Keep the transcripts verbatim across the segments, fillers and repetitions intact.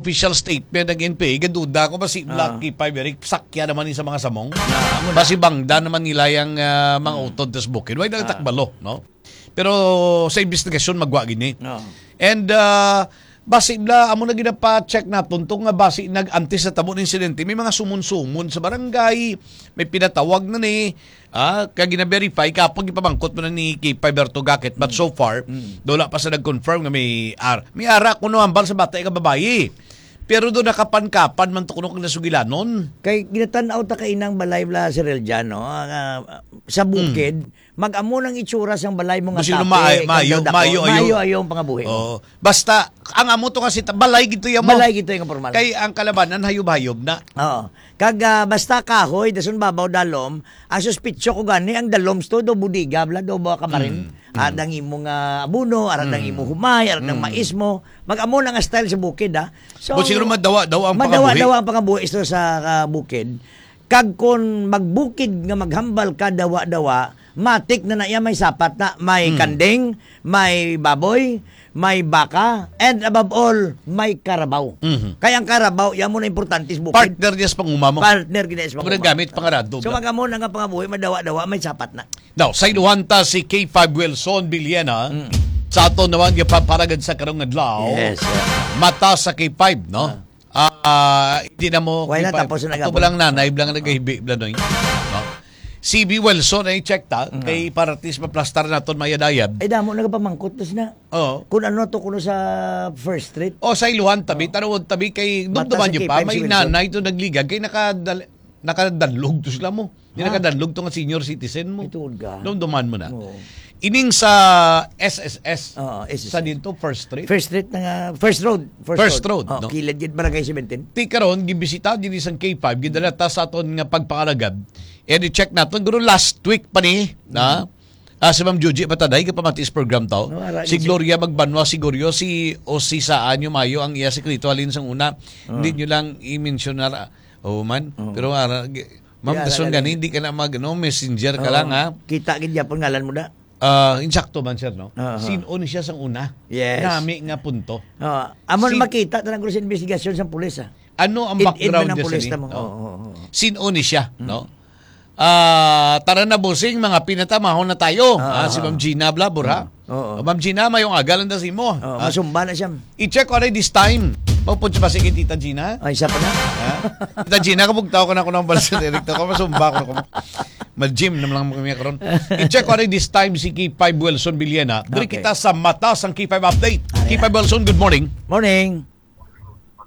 official statement ng N P A, gaduda ko, basi Ah. Lucky Five, Eric, sakya naman ni sa mga samong. Ah, amo na. Basi bangda naman nila yung, ah, mga Hmm. utod tas bukid. Why Ah. nagtakbalo, no? Pero sa investigasyon, magwa gini. Oo. And, ah, basi bla, amo na ginapa-check naton to nga basi nag-, antes sa tabo ng insidente, may mga sumon-sumon sa barangay, may pinatawag na ni, ah, kag gina-verify, kapag ipamangkot mo na ni K five Berto Gakit, but Mm. so far, Mm. wala pa sa nag-confirm nga may ar-, may ara kuno hambal sa bata nga babayi. Pero do nakapankapan man to kuno kag nasugilanon. Kay ginatan-aw ta kainang balay bla, Sir Eljan, no? Ah, ah, sa Mm. bukid, mag-amo nang itsura sang balay mo nga Gusto nyo tape, maayo, kag maayo, dako. Maayo, ayo. Ayo ang pangabuhi mo. Oo. Basta, ang amo to kasi, ta-, balay gito yan mo. Balay gito yung pormal. Kay ang kalabanan, hayub-hayub na. Oo. Kag, ah, basta kahoy, dason babaw dalom, ang suspitso ko gani, ang daloms to, do bodega, bla, do ba kamarin? Mm. Ara Mm. dang imo nga abono, ara dang Mm. imo humay, ara dang Mm. mais mo. Mag-amo na nga style sa bukid, ha? So, But siguro madawa-dawa ang madawa-dawa pangabuhi. Ang pangabuhi sa, sa, ah, bukid. Kag kon magbukid nga maghambal ka dawa-dawa, matik na na iya may sapat na, may Hmm. kanding, may baboy, may baka, and above all, may karabaw. Mhm. Kay ang karabaw, iya mo na importante sa bukid. Partner niya sa panguma mo. Partner gid niya sa panguma. Muna gamit pangarado So, bla. Mag-amo na nga pangabuhi, madawa-dawa, may sapat na. Now, sa iluhan ta si K five Wilson Villena, Mm. sa aton naman nga paparagad sa karong adlaw, Yes, sir. Mata sa K five, no? Ah. Ah, hindi na mo Why not? kipa-, Tapos na ato gapon. Blang nanay, blang nagahibi, bla, no? No? C B Wilson, ay check ta, Mm. kay para at least maplastar naton mayad-ayad. Ay, damo nagapamangkot, tas na. Oo. Kung ano to, kuno sa First Street. O, sa iluhan tabi, Oo. Tanawon tabi, kay Mata dumduman sa niyo pa, K five may si Wilson. Nanay to nagligad, kay nakadal-, nakadanlog to sila mo. Di Ha? Nakadanlog to nga senior citizen mo. Ituod ka. Dumduman mo na. Oo. Ining sa S S S, Oo, S S S. Sa dito, First Street? First Street na nga, First Road. First First Road. Road, Oh, no? Kilid gid Barangay seventeen. Ti karon, gibisita din isang K five, gidala ta sa aton nga pagpangalagad. And i-check naton, guro last week pa ni, na? Mm. Ah, si Ma'am Juji Mataday, kapamati sa program to. No, ara, Si si Gloria Magbanwa, siguro, si, o si Saan, yung mayo, ang iya sikreto, halin sang una. Oh. Hindi nyo lang i-mention na, oh, man. Oh. Pero ara, gi-, Ma'am, Kaya dason lang gani, eh. Hindi ka na mag, no, messenger ka Oo. lang, ha? Kita gid yapon ngalan mo da. Ah, insakto man, sir, no? Oo. Sin-o ni siya sang una? Yes. Nami nga punto. Oo. Amo na Si- makita, tanang ko sa investigasyon sa pulis, ah. Ano ang In-, in background man ang niya, pulis sir, tamo. no? Oo, oo, oo. Sin-o ni siya, Mm. no? Ah, tara na, bossing, mga pinatamahon na tayo. Oo, Ah, si oo. Ma'am Gina Blabor, ha? Oo. Oo. Oh, Ma'am Gina, mayong aga lang da sa imo. Oo, Ah, masumba na siya. I-check ko rin this time. Maupod siya ba si Tita Gina? Ay, isa pa na. Ha? Tita Gina, kabugtaw ko na ako ng balsa direkto ko. Masumba ko na ko. Mag-gym naman lang kami karon. I-check ko rin this time si K five Wilson Villena. Diri Okay. kita sa Mata sang K five Update. Ah, K five yeah. Wilson, good morning. Morning.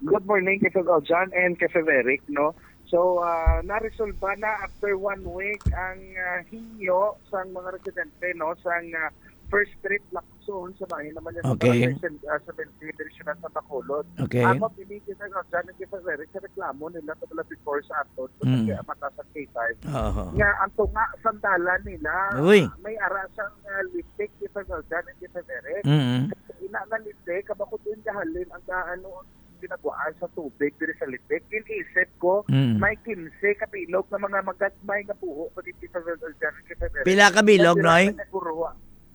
Good morning, K five John and K five Eric, no? So, ah, naresolba na after one week ang, ah, hingyo sang mga residente, no, sang, ah, First Street Lacson sa bahin naman niya sa Okay. Barangay Sen-, ah, seventeen, Division sa Bacolod. Okay. Amo, pinigil na nga dyan ang K five Eric sa reklamo nila sa mga before sa aton, sa Mm. pagkaya mata sa K five. Oo. Nga, ang tunga, sandalan nila, Uy. may ara siyang, ah, litik, K five John and K five Eric. Mm. Ina nga litik, kabakod din kahalin ang, ah, ano, ginaguan sa tubig diri sa litik. Ginisip ko, Mm. may kinse ka bilog nga mga magagmay nga buho pa dito sa Rizal Dyan, K five Eric. Pila ka bilog, Dira Noy? sa Nagurua,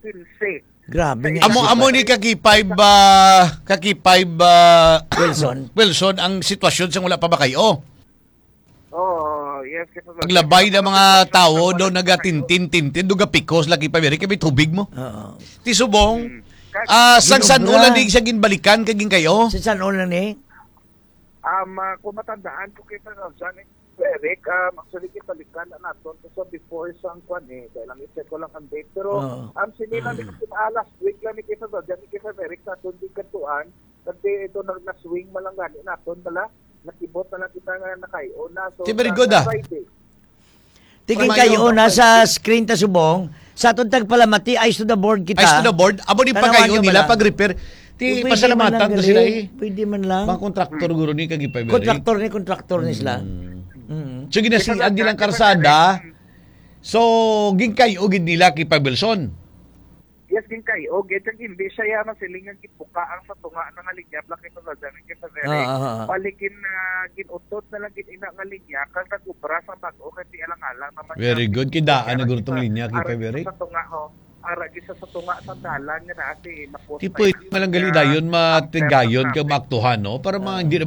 kinse. Grabe Sa nga Amo, isip. amo ni ka K five, ah, ka K five, ah, Wilson. Wilson, ang sitwasyon sa wala pa ba kayo? Oo, yes, K five Eric. Paglabay na mga tao do nagatintin-tintin, do gapikos lagi pa, Eric, kay may tubig mo. Oo. Ti subong, Mm. Kag- ah, sang San Ginobra. Ulan di siya ginbalikan kag ginkayo? Sa San Ulan ni? Um, ah, kung matandaan ko kay Sir John, Eric, um, actually, ginbalikan na naton sa before sang kwan eh. Dahil lang i-check ko lang ang date. Pero, Oo. um, sini lang Mm. din, ah, last week lang ni kay Sir John, ni kay Sir Eric, sa aton di kantuan. Kasi ito, nag-, na-swing man lang gani naton, bala. Nakibot na lang kita nga nakayo na. So, Ti very sa, good, sa ah. Friday. Tigin Tama kayo yun. Na sa screen ta subong, sa atong tagpalamati, eyes to the board kita. Eyes to the board. Amo ni Tanawan pagayo nyo nila bala? pag-repair. Ti Pwede pasalamatan man lang to sila gali. eh. Pwede man lang. Mga kontraktor guro ni kag ipabili. Kontraktor ni, kontraktor ni sila. Mm. Mm. So, ginasiad Ito lang nilang karsada. So, ginkayo gid nila kay Pabelson. Yes, ginkayo. Gid ang hindi siya ya masiling ang gibuka ang sa tunga na nga linya, Black and Golden, kay Pabere. Ah, ah, ah. Balikin na ginutot na lang gid ina nga linya, kag nag-ubra sa bag-o kay ti alang-alang naman Very siya. good. Kidaan na Kaya guro tong sa, linya kay ara Pabere. Sa tunga, ho. Ara gid sa, sa tunga sa dalan nga naa si Mapos Ti na pwede yan. man lang gali Kaya dayon, after matigayon ng kag traffic. Maaktuhan, no? Para ma-, Ah. hindi naman